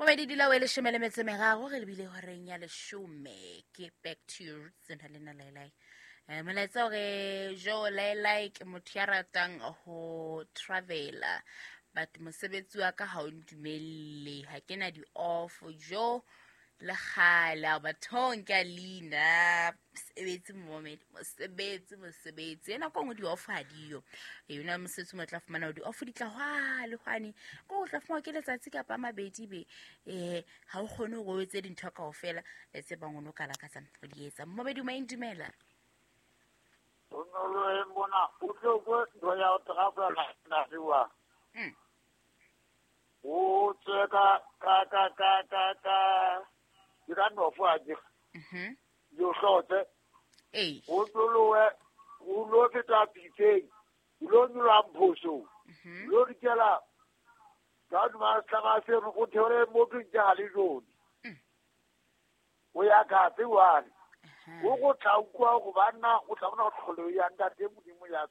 Momedi dila o e leshome le metso e meraro re lebile horeng ya leshome ke back to your roots na le nna laelai. Molaetsa hore jo laelai ke motho ya ratang ho travela but mosebetsi wa ka ha o ntumelle ha ke na di-off jo le kgale a bathong ke a leina mosebetsi momedi mosebetsi mosebetsi e nako nngwe di-off ha diyo e yona mosebetsi mo tla fumana gore di-off di tla hwane hwane ko o tla fumana ke letsatsi kapa a mabedi be um ga o kgone gore o etse dintho kao fela tse bang o ne o ka lakatsang go di etsa. Momedi o maeng, dumela. Bonolo e mona o tlo ko ntho ya go trafela nasiwa. O tswe ka ke ka nofo a ke yo hlotse. O tlolowe o lo feta pitseng, o lo nyoloha Mphosong, o lo dikela ka hodima setlama seno, o theole mo tlong ke ga le jone. O ya katse one. O go tla utlwa go banna o tla bona tlholo ya ntate Modimo ya.